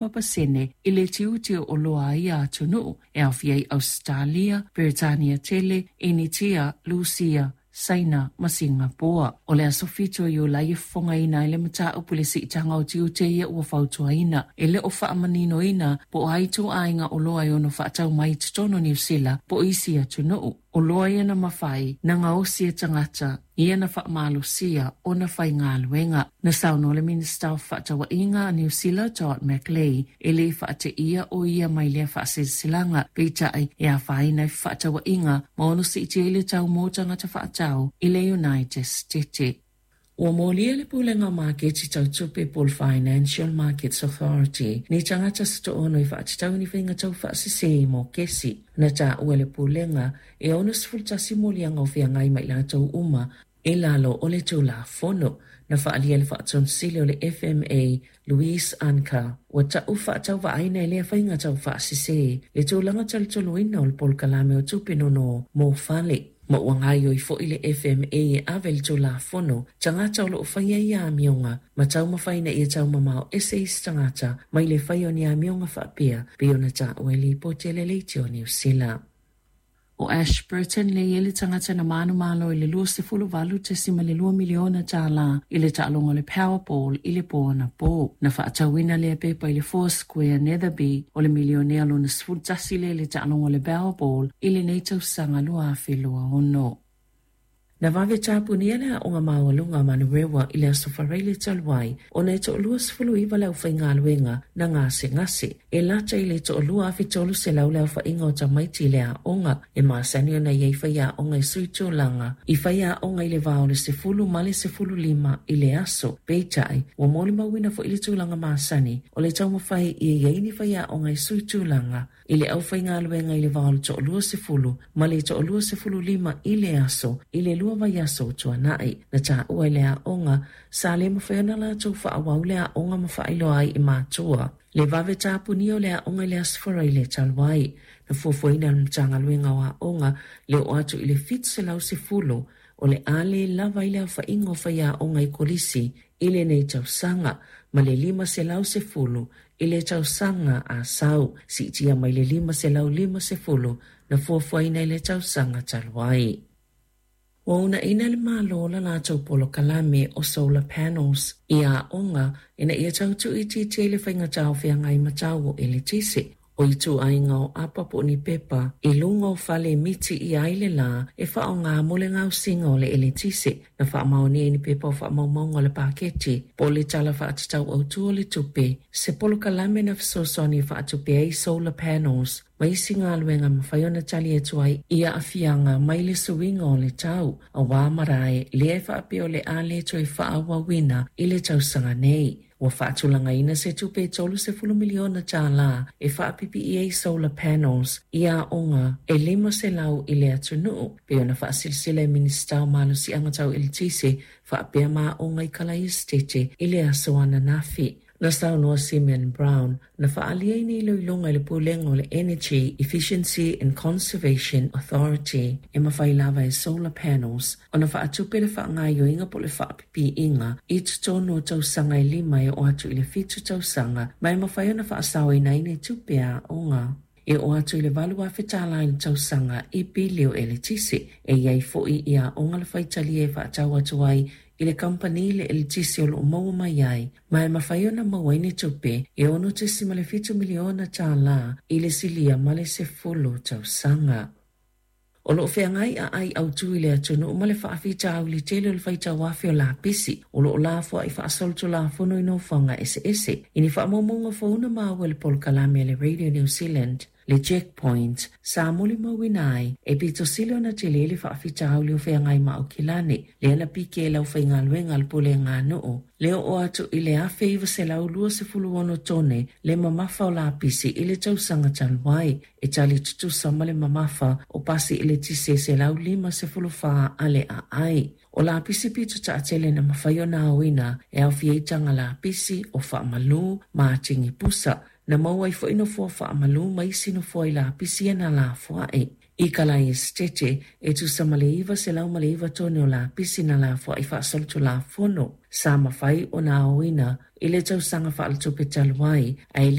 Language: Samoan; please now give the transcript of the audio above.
5% i le tiute o oloa a ia atunuu, e aofia ai Ausetalia, Peretania tele, Initia, Lusia, Saina ma Singapoa. O le aso 7 o Iulai e fofogaina ai le mataupu i le siitaga o tiute ia ua fautuaina. E le o faamaninoina po o a ituaiga oloa e ono faatau mai i totonu o Niu Sila po o isi atunuu. Oloa ia na mafai na gaosi e tagata ia na faamalosia ona faigaluega. Na saunoa le Minisita o Fefaatauaiga a Niu Sila Todd McClay e le faateia o ia mai lea faasilasilaga, peitai e afaina ai fefaatauaiga ma ono siitia ai le tau mo tagata faatau i le United States. Ua molia le Pulega o Maketi Tau Tupe po o le Financial Markets Authority ni tagata se toaono i faatatau i ni faiga tau faasese i mokesi. Na taua e le Pulega e 61 moliaga o feagai ma i latou uma i lalo o le Tulafono. Na faaalia e le Faatonisili o le FMA, Louise Anker, ua tau faatauvaaina e lea faiga tau faasese le tulaga talitonuina o le polokalame o tupe nono mo fale. Ma ua gaoioi foi le FMA e ave le Tulafono tagata o lo o faia ia amioga ma taumafai ina ia taumamao ese isi tagata mai le faia o ni amioga faapea, pei ona taua i lipoti a le Leitio Niu Sila. O Ash Burton lea e i ai le tagata na manumalo i le $28.2 miliona tālā i le taaloga o le Powerball i le po anapō. Na faatauina lea pepa i le Four Square Netherby o le milionea lona 11 lea i le taaloga o le Powerball i lenei tausaga 2026. Na vave tapunia le aoga maualuga a Manurewa i le Aso Faraile talu ai ona e toa-29 le aufaigaluega na gasegase. E lata i le toa-2,300 le aofaiga o tamaiti i le aoga. E masani ona i ai faiaoga e sui tulaga i faiaoga i le va o le 10 ma le 15 i le aso. Peitai, ua molimauina foi le tulaga masani o le taumafai ia i ai ni faiaoga e sui tulaga i le aufaigaluega i le va o le toa-20 ma le toa-25 i le aso i le 2 vaiaso ua tuanai. Na taua e le aoga, sa le mafai ona latou faaauau le aoga ma faailoa ai i matua le vave tapunia o le aoga i le Aso Faraile talu ai. Na fuafuaina e le Matagaluega o Aoga le oo atu i le 710 o le a le lava ai le aofaiga o faiaoga i kolisi i lenei tausaga ma le 510 i le tausaga a sau, siitia mai le 550 na fuafuaina i le tausaga talu ai. Ua uunaina e le Malo la latou polokalame o solar panels i aoga ina ia tau tuuitiitia i le faigata o feagai ma tau o eletise. O ituaiga o apa po o ni pepa i luga o fale e miti ʻia ai le lā e faaaoga mo le gaosiga o le eletise. Na faamaonia i ni pepa o faamaumauga o le paketi po o le Tala Faatatau Autu o le Tupe, se polokalame na fesoasoani e faatupe ai solar panels ma isi galuega e mafai ona tali atu ai i aafiaga mai le suiga o le tau, auā marae lea e faapea o le a le toe faaauauina i le tausaga nei. Ua faatulagaina se tupe e $30 miliona e faapipii ai solar panels i aoga e 500 i le atunuu, pei ona faasilasila e Minisita o Malosiaga Tau Eletise faapea ma aoga i Kalaesetete i le aso ananafi. Na saunoa Simeon Brown, na faaalia i ni iloiloga i le Pulega o le Energy Efficiency and Conservation Authority e mafai lava e solar panels ona faatupe le faagaoioiga po o le faapipiiga i totonu o tausaga e lima e oo atu i le fitu tausaga ma e mafai ona faasaoina ai ni tupe a aoga e oo atu i le $8,000 i le tausaga i pili o eletise. E i ai foi i aoga le faitalia e faatau atu ai i le kamupani le eletise o lo o maua mai ai ma e mafai ona maua ai ni tupe e $6.7 miliona i le silia ma le 10 tausaga. O lo o feagai aai autu i le atunuu ma le faafitauli tele o le faitau afe o lapisi o lo o lafoai faasolitulafono i nofoaga eseese. I ni faamaumauga fou na maua e le polokalame a le Radio New Zealand, le Checkpoint, sa molimauina ai e pito sili ona tele le faafitauli o feagai ma Aukilani, lea na pike e le aufaigaluega a le Pulega a Nuu, le oo atu i le 1926 tone le mamafa o lapisi i le tausaga talu ai, e tali tutusa ma le mamafa o pasi eletise 154 a le aai. O lapisi pito taatele na mafai ona aoina e aofia ai taga lapisi, o faamalu ma atigi pusa. Na maua ai foi nofoa faamalu ma isi nofoa i lapisi ia na lafoai. I Kalaesetete, e tusa ma le 909 tone o lapisi na lafoai faasolitulafono sa mafai ona aoina i le tausaga faaletupe talu ai, ae